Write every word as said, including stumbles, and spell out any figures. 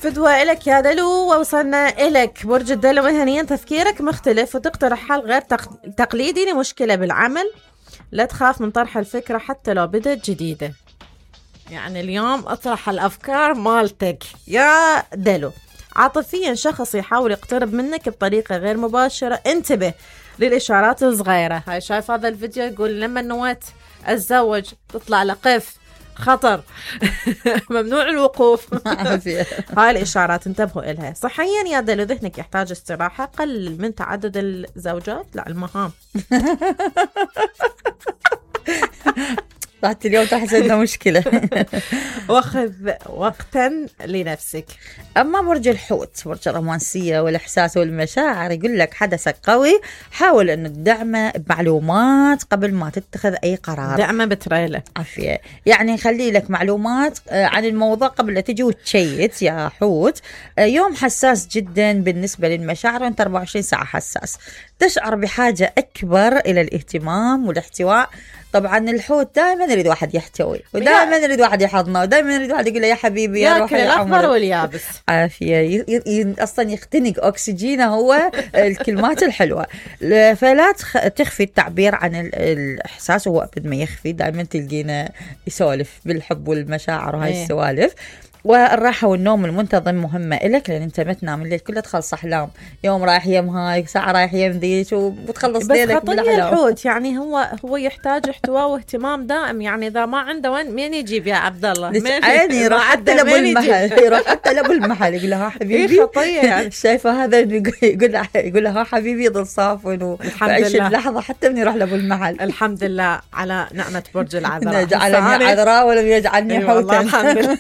فدوى إلك يا دلو، ووصلنا إلك برج الدلو. مهنيا تفكيرك مختلف وتقترح حل غير تق... تقليدي لمشكلة بالعمل. لا تخاف من طرح الفكرة حتى لو بدت جديدة. يعني اليوم اطرح الأفكار مالتك يا دلو. عاطفيا شخص يحاول يقترب منك بطريقة غير مباشرة، انتبه للإشارات الصغيرة. هاي شايف هذا الفيديو يقول لما نويت أتزوج تطلع لقف خطر ممنوع الوقوف. هاي الإشارات انتبهوا إلها. صحيا يا دلو ذهنك يحتاج استراحة، قلل من تعدد الزوجات لا المهام. بعد اليوم تحصلنا مشكلة. واخذ وقتا لنفسك. أما برج الحوت، برج الرومانسية والإحساس والمشاعر، يقول لك حدثك قوي، حاول أنه تدعمه بمعلومات قبل ما تتخذ أي قرار. دعمه بتريلة عافية، يعني خلي لك معلومات عن الموضوع قبل لا تجي وتشيت يا حوت. يوم حساس جدا بالنسبة للمشاعر، وانت أربعة وعشرين ساعة حساس، تشعر بحاجة أكبر إلى الاهتمام والاحتواء. طبعا الحوت دائما يريد واحد يحتوي، ودائما يريد واحد يحضنه، ودائما يريد واحد يقول له يا حبيبي يا روحي ياكل الأخضر واليابس. عافية، ي... ي... أصلا يختنق أكسجينه هو الكلمات الحلوة. فلا تخ... تخفي التعبير عن ال... الإحساس، وهو أبد ما يخفي، دائما تلقينا يسولف بالحب والمشاعر وهاي السوالف. والراحة والنوم المنتظم مهمة إلك، لأن أنت ما تنام الليل كله تخلص أحلام، يوم رايح يم هاي ساعة رايح يم ذيك، وبتخلص ليلك بالأحلام. بس الحوت يعني هو هو يحتاج احتواء واهتمام دائم، يعني إذا ما عنده وين مين يجيب يا عبد الله؟ عيني يروح حتى لأبو المحل، يروح حتى لأبو المحل يقول له ها حبيبي خطية يعني. شايفة هذا يقول له يقول له ها حبيبي ضل صافن وعيش اللحظة حتى من يروح لأبو المحل. الحمد لله على نعمة برج العذراء. جعلني عذراء ولم يجعلني حوتا. الحمد لله.